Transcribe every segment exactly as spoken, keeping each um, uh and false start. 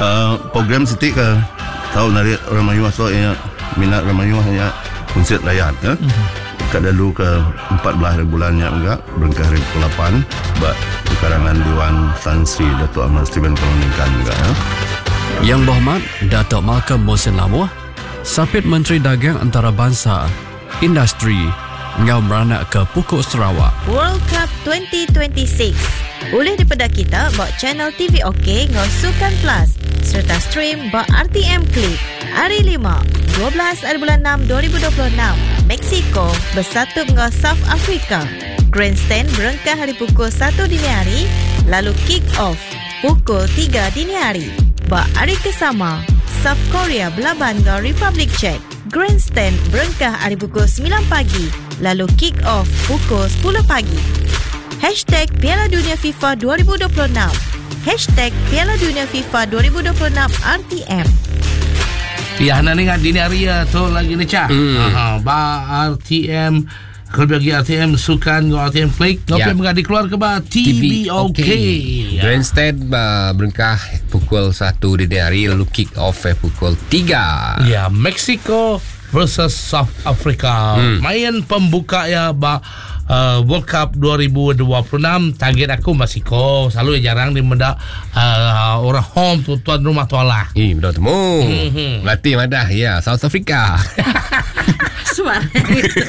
Uh, program siti ke tau narik orang mayuh so ya minat orang mayuh ya konsert rakyat ya. Mm-hmm. Kat lalu ke empat belas hari bulan nya juga berengkah hari pukul lapan bak pekarangan Dewan Tan Sri Datuk Ahmad Stephen Kalong Ningkan juga ya. Yang Berhormat Datuk Malcolm Mussen Lamoh, Sapit Menteri Dagang Antarabangsa, Industri ngau meranak ke Pukul Sarawak. World Cup dua ribu dua puluh enam boleh daripada kita buat channel T V OK ngau Sukan Plus serta stream buat R T M Click. Hari lima, dua belas hari bulan enam dua ribu dua puluh enam, Mexico bersatu dengan South Africa. Grandstand berengkah hari pukul satu dini hari, lalu kick off pukul tiga dini hari. Bak hari kesama, South Korea berlaban dengan Republic Czech. Grandstand berengkah hari pukul sembilan pagi, lalu kick off pukul sepuluh pagi. Hashtag Piala Dunia FIFA dua ribu dua puluh enam. Hashtag Piala Dunia FIFA dua ribu dua puluh enam R T M. Ya, nak ingat dini hari ya tu lagi ni cak. Hmm. Aha, ba R T M kalau bagi R T M Sukan go R T M Click, ngopi Ya. mengadi keluar ke ba T V O K. Ya. Grandstand uh, berengkah pukul satu dini hari, lalu kick off eh, pukul tiga. Ya, Mexico versus South Africa. Hmm. Main pembuka ya ba uh, World Cup dua ribu dua puluh enam. Target aku Mexico. Selalu jarang di mendak uh, orang home tu, tuan rumah tualah. Eh, betul temu. Mhm. Latih madah ya South Africa. Suara itu.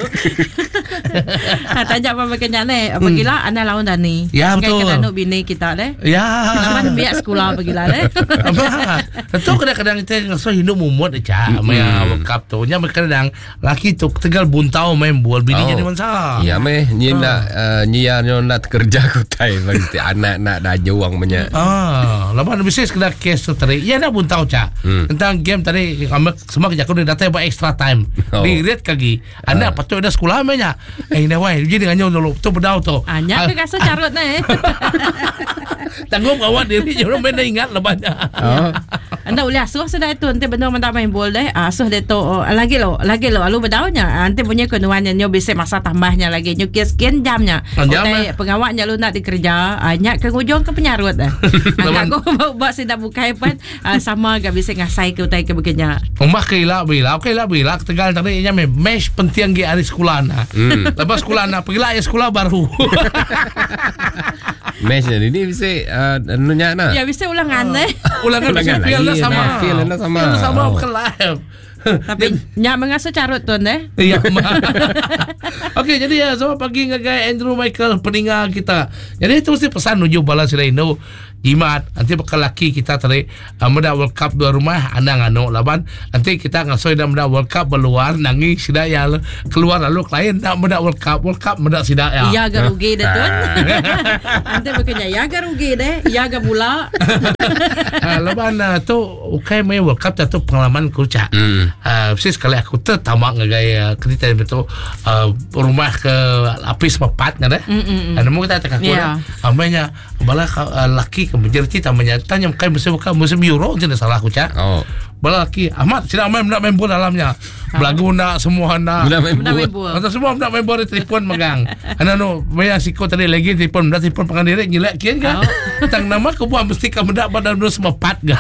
Ha, tanya apa makannya ni? Pergilah anda lawan Dani. Ya, betul. Kena nuk bini kita deh. Ya. Lawan biak sekolah pergilah deh. Apa? Tentu kadang-kadang kita ngasuh hidup mumut aja mm. Maya World Cup tu. Nya kadang laki tu tegal buntau main bol bini Oh. jadi mangsa. Ya meh, nyi nak uh, nyi ya nak kerja kutai bagi setiap anak nak dah juang banyak. Ah, lepas mesti sekedar kes tu tadi. Ya nak buntau cak. Hmm. Tentang game tadi kami semua kerja aku dia datang buat extra time. Oh. Di rate kaki. Anak patut ada sekolah mainnya. Eh ni wai, jadi dengan dulu tu bedau tu. Anya ke rasa carut ni. Tanggung awak diri je orang main dah ingat lebahnya. Oh. Anda boleh asuh sudah itu nanti benar mendak main bol deh. Ah, asuh dia tu oh, lagi lo, lagi lo alu bedaunya. Ah, nanti punya kenuannya nyo bisa masa tambahnya lagi nyo kia sekian jamnya. Ah, jam, Utai eh. pengawaknya lu nak dikerja, ah, nyak ke ujung ke penyarut dah. Lawan- Aku buat buat sidak bukai pun ah, sama gak bisa ngasai ke utai ke begenya. Umbah ke ilak bila, ke ilak bila tegal tadi nya me mesh penting ge hari sekolah na. Hmm. Lepas sekolah na pergilah ya sekolah baru. Match ni ni bisa uh, nunya nak. Ya bisa ulangan eh. Ulangan Ulangan bisa feel lagi, sama. nah, feel lah sama. Feel sama Oh. bukan live. Tapi nyak mengasuh carut tuan eh. Ya. Okey, jadi ya selamat pagi ngagai Andrew Michael peninggal kita. Jadi itu mesti pesan nuju bala sila Indo. Jimat nanti bakal laki kita tadi uh, mendak World Cup dua rumah anang anu laban nanti kita ngasoi dah mendak World Cup berluar nangis sida ya keluar lalu klien nak mendak World Cup, World Cup mendak sida ya. Ya agak rugi deh tuan. Nanti bukannya ya agak rugi deh, ya agak bula. Ah, laban uh, tu ukai main World Cup tu pengalaman ku cak. Hmm. Uh, mesti sekali aku tertamak ngagai uh, kereta itu uh, rumah ke lapis mepat kan eh. Mm, mm, mm. Ada mu kita tak aku Ya. yeah. Amanya bala uh, laki ke majoriti tamanya tanya kai musim buka musim Euro je salah aku cak. Oh. Bala laki Ahmad tidak main nak main bola dalamnya. Belagu nak semua nak. Nak main Nak main bola. bola. Atau semua nak main bola telefon megang. Ana no maya siko tadi lagi telefon dah telefon pengan diri nyelek kian kan. Tang nama aku buat mesti kamu dak badan dulu semepat ga.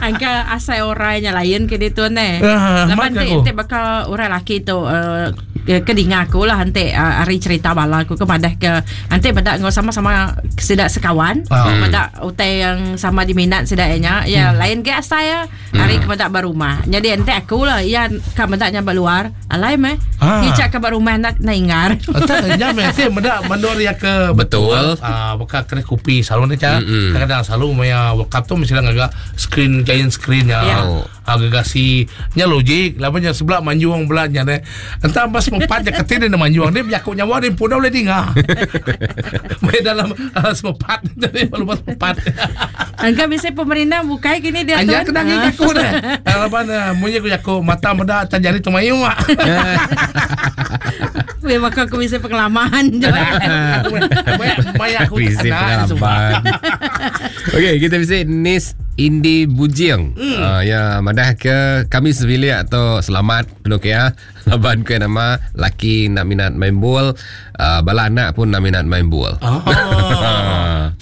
Angka asai orangnya lain ke dia tuan eh. Ah, Lepas mat nanti aku. nanti bakal orang laki tu uh, ke, kedinga aku lah nanti uh, hari cerita bala aku ke madah ke nanti badak ngau sama-sama sedak sekawan. Ah. Hmm. Badak utai yang sama diminat sedaknya ya hmm. lain ke asai ya hari ke badak berumah. Jadi nanti aku lah ya ka badaknya berluar alai meh. Ah. Ni cak ke berumah nak nak ingar. Entah jam eh sih mendak mandor ya ke Betul. Ah, buka kena kopi selalu ni cak. Mm-mm. Kadang-kadang selalu maya World Cup tu mesti agak screen giant screen ya. Ya. Oh. Agak si nya logik lamanya sebelah manjuang belaknya deh. Entah pas mempat je ketin dia manjuang dia berjakut nyawa dia pun dah boleh dengar. Maya dalam uh, semepat jadi baru pas semepat. Angka bisa pemerintah bukai kini dia Anya tuan. kena Ah. ngik aku dah. Laban munyi aku jaku mata meda tak jari tumayu mak. Memang aku bisa pengalaman je. Maya maya aku Bisa kena pengalaman. Okey, kita bisa Nis Indi Bujing. Mm. Uh, ya, madah ke kami sebilik atau selamat penuh ke ya. Laban ke nama laki nak minat main bol, uh, bala anak pun nak minat main bol. Oh.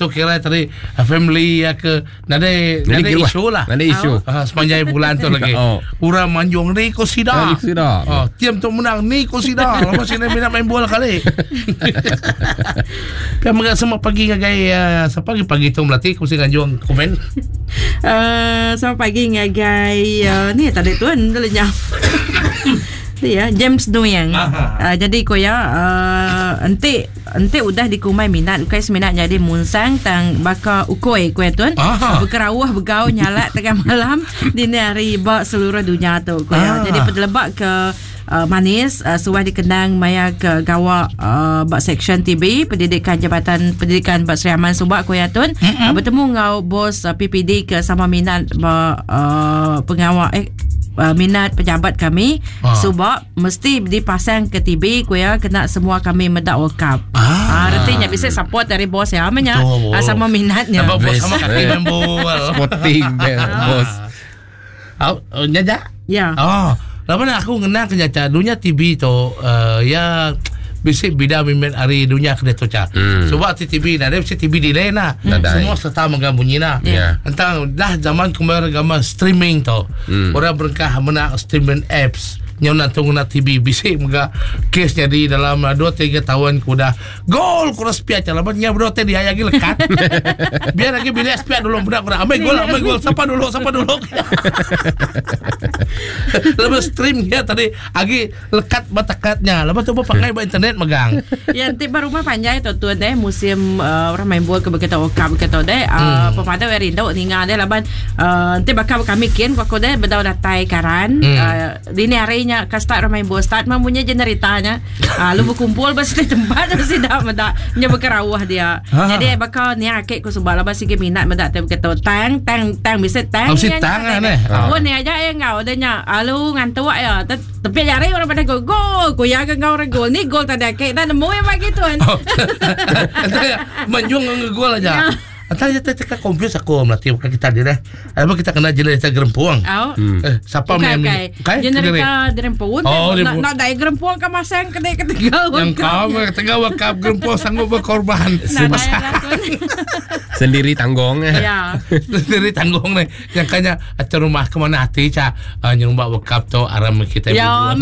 Tu kira tadi family ya ke nadai nadai isu lah. Nadai isu. Ah, sepanjang bulan tu lagi. Oh. Orang manjung ni ko sida. Ni ko sida. Oh, tiam tu menang ni ko sida. Lama sini minat main bola kali. Pia mengat semua pagi ngagai uh, sepagi pagi tu melatih aku mesti nganjung komen. Uh, selamat pagi ngagai uh, ni tadi tuan lenyap. Ya, James Duyang. Uh, jadi ko ya uh, enti enti udah dikumai minat ukai seminat jadi munsang tang baka ukoi ko ya tuan. Berkerawah begau nyalak tengah malam dini hari ba seluruh dunia tu ko ya. Jadi pendelebak ke Uh, manis uh, suah dikenang maya ke gawa uh, bak section T B Pendidikan Jabatan Pendidikan Bak Sri Aman Subak ko ya tun. Mm-hmm. Uh, bertemu ngau bos uh, P P D ke sama minat ba, uh, pengawal eh Uh, minat pejabat kami ah. Subak mesti dipasang ke T B ko ya kena semua kami medak World Cup. Ah, ah artinya bisa support dari bos ya amanya ah, sama minatnya. Sama bos sama kaki membol. Sporting bos. Oh, nyaja? Ya. Oh. Lama aku ngena ke dunia T V tu uh, ya bisik bida mimin hari dunia kena tu cak. Hmm. Sebab T V dah ada bisik T V delay nah. Hmm. Semua serta menggang bunyi nah. Yeah. Entang dah zaman kemarin gambar streaming tu. Hmm. Orang berengkah menak streaming apps. Nyaw nak tunggu nak T V bisik mega kes jadi dalam dua tiga tahun ku dah gol ku sepiat laban nya bro teh dia lagi lekat. Biar lagi bilik sepiat dulu budak ku ambil gol ambil gol siapa dulu siapa dulu. Lepas stream dia tadi lagi lekat batakatnya. Lepas tu pakai ba internet megang. Ya nanti baru rumah panjai tu tuan deh musim uh, orang main bola ke begitu okap begitu deh uh, hmm. Pemada we rindu ninga deh laban uh, nanti bakal kami kin ku deh bedau datai karan hmm. uh, dini hari nya ka start ramai bo start mamunya generitanya ah lu berkumpul bas di tempat mesti dak medak nya berkerawah dia. Ha. Jadi bakal ni akek ku sebab laban sige minat medak te begitu tang tang tang bisa tang. Mesti tang kan eh. Oh ni aja yang ngau dia nya alu ngantuk ya tepi jari orang pada go go ku ya ke ngau orang gol ni gol tadi akek dah nemu yang pagi tuan. Menjung ngegol aja. Entah kita cakap confuse aku melatih bukan kita dia dah. Apa kita kena generator gerempuang. Oh. Hmm. Eh, siapa okay, main okay. Generator gerempuang. Oh, nak nak dai gerempuang ke masang kena ketiga. Yang kau ketiga wakap gerempuang sanggup berkorban. Nah, sendiri tanggung eh. Ya. Sendiri tanggung ni. Yang kanya acara rumah ke mana hati ca uh, nyumbak wakap tu aram kita. Ya.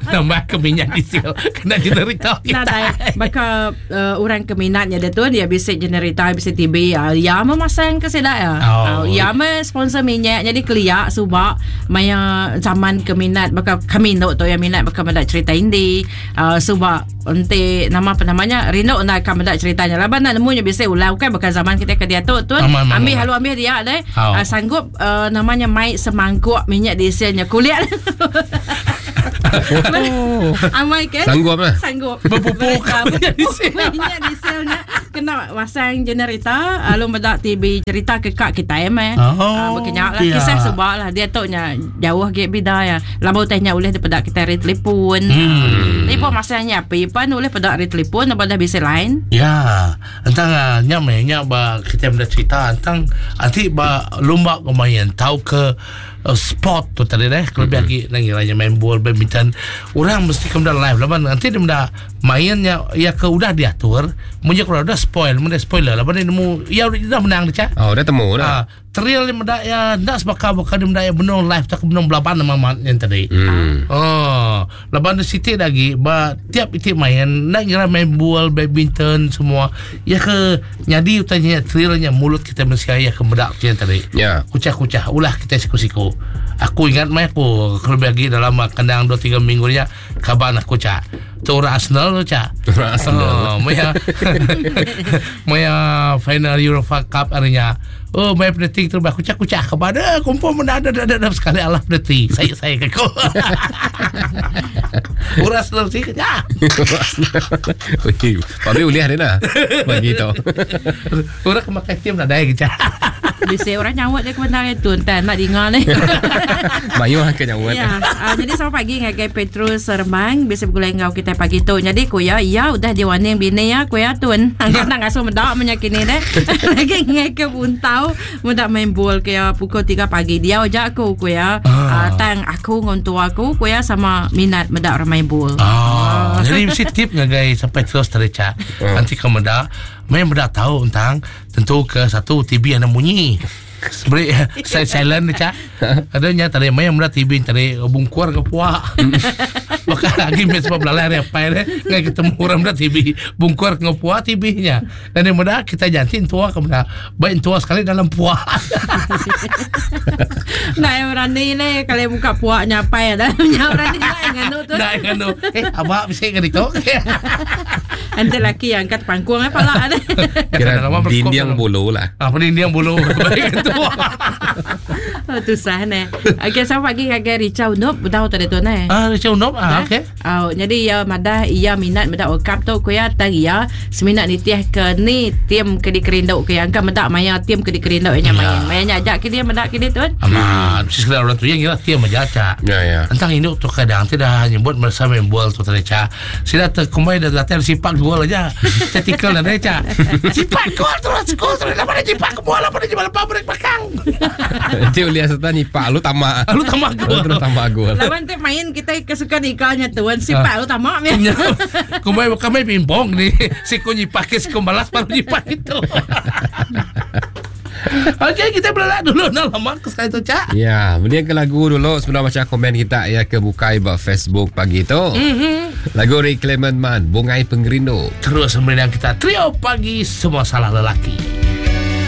Nambah ke minyak diesel kena generator kita. Nah, dai maka uh, orang keminatnya dia tu dia bisa generator bisa T V. Ya, ya memasang ke sedak ya. Oh. Ya me sponsor minyak jadi keliak subak maya zaman keminat bakal kami ndok tu yang minat bakal mendak cerita indie uh, subak ente nama apa namanya rindu nak akan mendak ceritanya laban nak nemunya biasa ulang kan bakal zaman kita ke dia tu tu ambil halu ambil dia deh Oh. uh, sanggup uh, namanya mai semangkuk minyak dieselnya kulit. Oh. Amai kan? Sanggup lah. Sanggup. Berpupuk minyak diesel. Minyak dieselnya kena pasang generator lalu medak T V cerita ke kak kita em eh. Oh, Uh, berkenyak lah. ya. Kisah sebab lah dia tu nya jauh ge bida ya. Lama tehnya boleh depedak kita hari telefon. Hmm. Ni pun masanya api pan boleh pedak hari telefon apa dah bisa lain. Ya, entang uh, nya me nya ba kita benda cerita entang nanti ba lumba kemain tahu ke uh, sport tu tadi deh kalau mm-hmm. lagi nang raya main bola badminton orang mesti kena live laban nanti dia benda mainnya ya ke udah diatur munye kalau udah spoil mun spoiler laban dia nemu ya udah menang dia Oh, dah temu dah. Ah, thrill dia mendak ya ndak sebab bakal dia mendak ya benung live tak benung belaban nama yang tadi. Hmm. Oh, lepas tu sitik lagi, ba tiap itik main nak kira main bola, badminton semua. Ya ke nyadi utanya thrillnya mulut kita mesti ya ke medak macam tadi. Ya. Kucah-kucah ulah kita siku-siku. Aku ingat mai aku kalau lagi dalam kandang dua tiga minggu ni kabar aku cak. Tu orang Arsenal tu cak. Orang Arsenal. Oh, maya maya final Europa Cup harinya. Oh, main penting tu aku cak kucah kepada kumpul mana ada ada ada sekali Allah penting. Saya saya ke kau. Orang Arsenal sih ya. Ui, Pak Bi uliah dia dah. Bagi tu. Orang kemakai tim dah dah ke cak. Bisa orang nyawat dia kebenar itu entah nak dengar ni. Mayu ke nyawat. Ya, uh, jadi selamat pagi ngagai Petrus Seremang bisa bergulai ngau kita pagi tu. Jadi ku ya, ya udah diwani yang bini ya ku ya tun. Angkat nak ngasuh mendak menyakini deh. Lagi ngai ke buntau mendak main bol ke ya pukul tiga pagi. Dia ajak aku ku ya. Ah. Uh, tang aku ngon tua aku ku ya sama minat mendak orang main bol. Oh. Jadi mesti tip ngagai sampai terus tereca. Nanti kamu dah, main dah tahu tentang tentu ke satu T V ada bunyi. Beri saya silent ni cak. Adanya tadi main mula T V tadi bungkuar ke puak. Maka lagi mes sebab lalai hari apa ni ngai ketemu orang mula T V bungkuar ke puak T V-nya. Dan yang muda kita jantin tua ke muda. Baik tua sekali dalam puak. Nah, yang berani ni kalau buka puak nyapai dah. Yang berani lah nganu tu. Nah, nganu. Eh, abak bisa ke itu. Nanti laki yang angkat pangkuang eh pala ada. Kira dinding bulu lah. Ah, dinding bulu. Baik tu. Oh, tusah ne. Okey, selamat pagi ngagai Richard Unop, tahu tadi tu ne. Ah, Richard Unop. Ah, okey. Oh, jadi ya madah ia minat medak World Cup tu kuya tang ia seminat nitiah ke ni tim ke dikerinduk ke yang kan medak maya tim ke dikerinduk nya main. Maya nya ajak ke dia medak ke dia tu. Amat, mesti sekali orang tu yang kira tim aja cak. Ya ya. Entang induk tu kadang tidak nyebut merasa main bola tu tadi cak. Sila terkumai dah latihan sipak gol aja. Tactical dah cak. Sipak gol terus gol terus lama dia sipak ke bola pada jam lepas break belakang. Nanti ulia serta nyipak lu tamak. Lu tamak gol. Lu tamak gol. Lawan te main kita kesukaan ikalnya tuan sipak lu tamak ya. Kumai kami pimpong ni. Siku nyipak ke siku balas baru nyipak itu. Okey, kita berlelak dulu nak lama ke sekali tu cak. Ya, kemudian ke lagu dulu sebelum baca komen kita ya ke bukai buat Facebook pagi tu. Mm-hmm. Lagu Ray Clement Man, Bungai Pengerindu. Terus sembilan kita trio pagi semua salah lelaki.